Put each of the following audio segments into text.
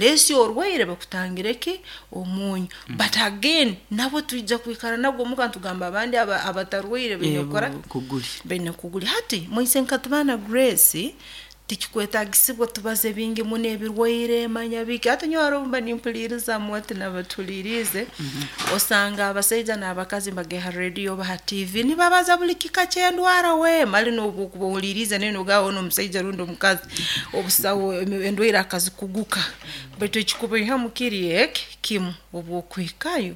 Lesi orwaire bakutangire ki omunyu. But again, nabo twija kwikara nabwo omuka ntugamba abandi abatarwaire baine kukora kuguli. Baine kuguli. Hati moise nkatubana Grace, tikikwetagisibwa tubaze bingi muno ebirwaire manya biki. Hati nyowe haroho mba nimpuliriza mwati nabatulirize, osanga abasaija n'abakazi mbageha radio oba ha TV nibabaza buli kika ky'endwara. We mali n'obwokuba ohuliriize nawe nogamba ono omusaija rundi omukazi obusawo endwaire akazikuguka. Baitu ekikubaihamu kiri eki kimu, obwokuhikayo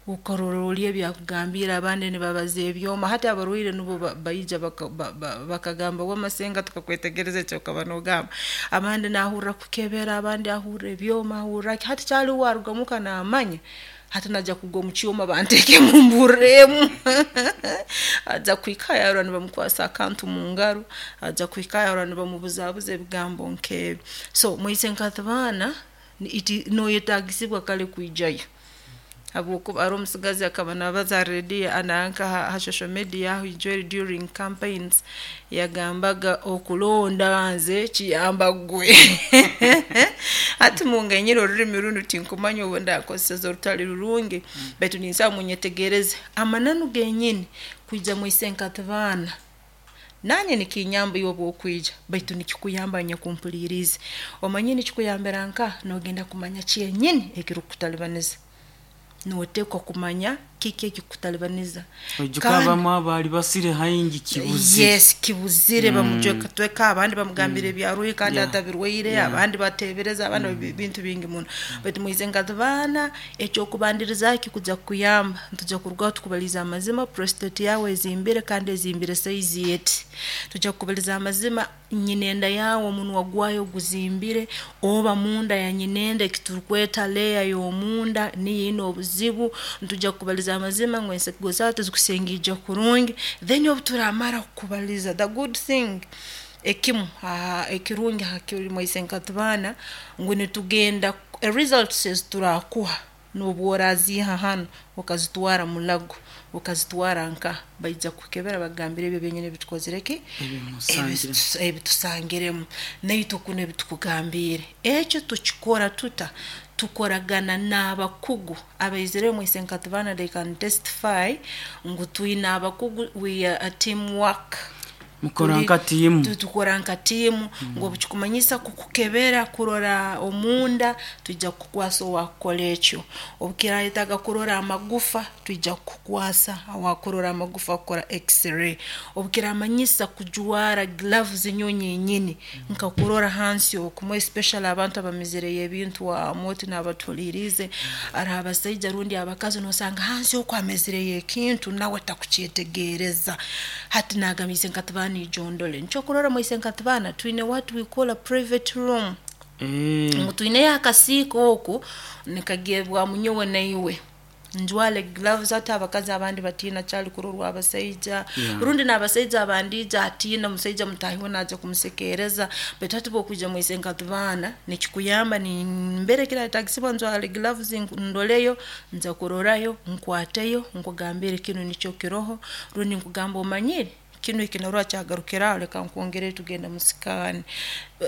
okarora oli ebyakugambiire, abandi nibabaza ebyoma. Hati abarwaire nubo baija bakagamba, "Wamasenga, tukakwetegereza ekyokaba nogamba." Abandi nahurra kukebera, abandi ahurra ebyoma, ahurra ki. Hati kyali waruga muka namanya hati najya kugwa omu kyoma banteekemu mburremu, ajja kuhikayo arora nibamukwasa akantu mu ngaro, ajja kuhikayo arora nibamubuzabuza ebigambo nk'ebi. So moise nkatibaana noyetagisibwa kale kwijayo, habwokuba ari omusigazi akaba nabaza ha radio ananka ha social media aho ijweri during campaigns yagambaga, "Okulonda nze kiyamba gwe." Hati munganyire orurimi runu, tinkumanya obu ndakozeseza orutali rurungi, baitu ninsaba munyetegereze amananu genyini. Kwija mwise nkatibaana nanye nikinyamba iwe obwokwija, baitu nikikuyamba nyakumpuliriize. Omanye nikikuyambira nka nogenda kumanya kyenyini ekirukukutalibaniza. Notekwa kumanya kiki ekikutalibaniza. Oijuka abamu abaali basire haingi kibuzire. Yes, kibuzire. Bamujweka, abandi bamugambira ebyaruhi kandi atabirwaire. Abandi batebereza, abandi bintu bingi muno. Baitu mwize nkatibaana, ekyokubandirizaho kikuja kukuyamba, ntujya kurugaho tukubaliza amazima: prostate yawe ezimbire kandi ezimbire size eti. Tujya kukubaliza amazima, nyina enda yawe omunwa gwayo guzimbire, oba munda ya nyinenda ekiturukweta layer y'omunda niyo ine obuzibu. Ntujya kukubaliza amazima ngu ensigo zawe tizikusengijja kurungi. Then obu turamara kukubaliza, the good thing ekimu ekirungi hakiri mwaise nkatibaana ngu nitugenda results eziturakuha, n'obu oraziiha hanu okazitwara mulago, okazitwara nka baija kukebera bagambire ebyo byenyini ebitukozire ki ebitusangiremu naitwe kuno ebitukugambiire. Ekyo tukikora tuta? Tukoragana n'abakugu abaizire mwise nkatibaana. They can testify ngu twine abakugu. We are a team work. Mukora nka tiimu. Tukora nka tiimu, ngu obukikumanyisa kukukebera kurora omunda, twija kukukwasa owakukora ekyo. Obukirayetaga kurora amagufa, twija kukukwasa awakurora amagufa, kukora x-ray. Obukiramanyisa kujwara gloves nyowe nyenyini nkakurora hansi okumu, especially abantu abamizireyo ebintu amoti n'abatuhuliriize, ari abasaija rundi abakazi, nosanga hansi oku amezireyo ekintu nawe takukyetegereza. Hati nagamba, "Nkatibaana, ijondole." Nikyo kurora mwaise nkatibaana twine what we call a private room, ngu twineyo akasiika oku nikagebwamu nyowe naiwe, njwale gloves. Ati abakazi abandi batiina kyali kurorwa abasaija, rundi n'abasaija abandi ija atiina omusaija mutahi we naija kumusekereza. Baitu hati bwokwija mwise nkatibaana nikikuyamba nimbere kirayetagisibwa njwale gloves, ndoleyo, nza kurorayo, nkwateyo, nkugambire kinu nikyo kiroho, rundi nkugamba, "Omanyire kinu ekinarora kyagarukiraho, leka nkwongere tugenda mu scan."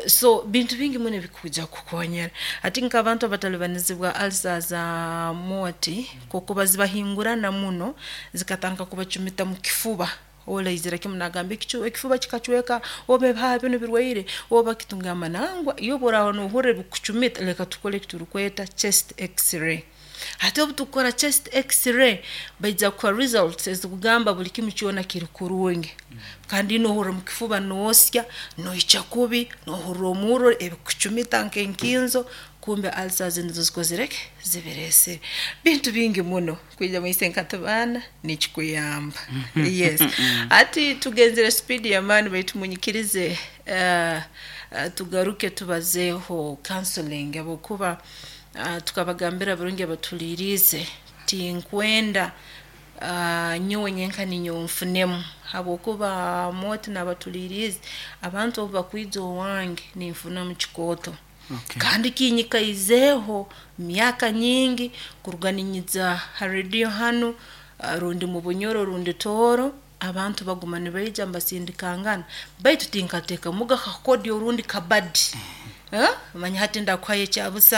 So bintu bingi muno ebikuja kukonyera. Ati nk'abantu abatalibanizibwa ulcer za moti, kokuba zibahingurana muno zikatandika kubacumita mu kifuba, olaizira kimu nagamba ekifuba kikacweka, oba ebihaha binu birwaire, oba kitungamba nangwa. Iyo obu nohurra ebikucumita, leka tukole ekiturukweta chest x-ray. Hati obu tukukora chest x-ray, baija kuha results ezikugamba buli kimu kyona kiri kurungi. Kandi nohurra mu kifuba noosya, noikya kubi, nohurra omurro, ebikucumita nk'enkinzo, kumbe ulcers nizo zikozire ki zibireesere. Bintu bingi muno kwija mwise nkatibaana nikikuyamba. Yes, ati tugenzere speed y'amaani, baitu munyikirize tugaruke tubazeeho counseling, habwokuba tukabagambira burungi abatuliirize, tinkwenda nyowe nyenka ninyowe nfunemu, habwokuba moti n'abatuliirize, abantu obu bakwija owange ninfunamu kikooto. Kandi kinyikaizeeho myaka nyingi kuruga ninyija ha rediyo hanu, rundi mu Bunyoro rundi Tooro, abantu baguma nibaija mbasindikangana, baitu tinkateekamuga kakodyo orundi kabadi. Manya hati ndakuhayo ekyabusa.